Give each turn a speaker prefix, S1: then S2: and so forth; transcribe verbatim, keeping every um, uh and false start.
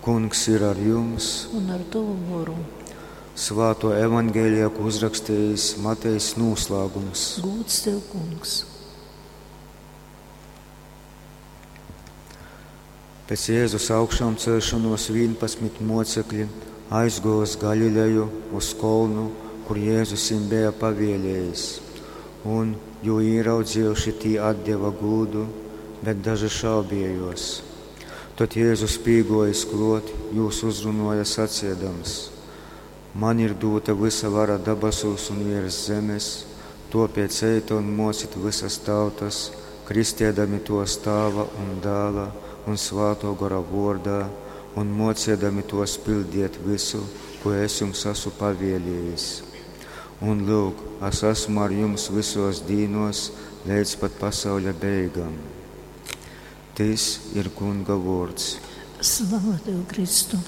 S1: Kungs ir ar jums.
S2: Un ar tovu goru.
S1: Svāto evaņģēlija, ko uzrakstījis Matejs noslēgums.
S2: Gūds tev, Kungs.
S1: Pēc Jēzus augšāmcelšanos vienpadsmit mocekļi aizguva uz Galileju, uz kolnu, kur Jēzus viņiem bija pavēlējis. Un, jū ieraudzījuši, tī atdeva gūdu, bet daži šaubījos. Tad Jēzus pīgojis klot, jūs uzrunoja sacīdams: Man ir dota visa vara dabasūs un virs zemes, topēc ejat un mocit visas tautas, kristiedami tos Tāva un Dāla un Svāto Gora vārdā, un mociedami tos pildiet visu, ko es jums esmu pavēlējis. Un lūk, es esmu ar jums visos dīnos līdz pat pasauļa beigām. Tis ir Kunga vārds.
S2: Slava tev, Kristu!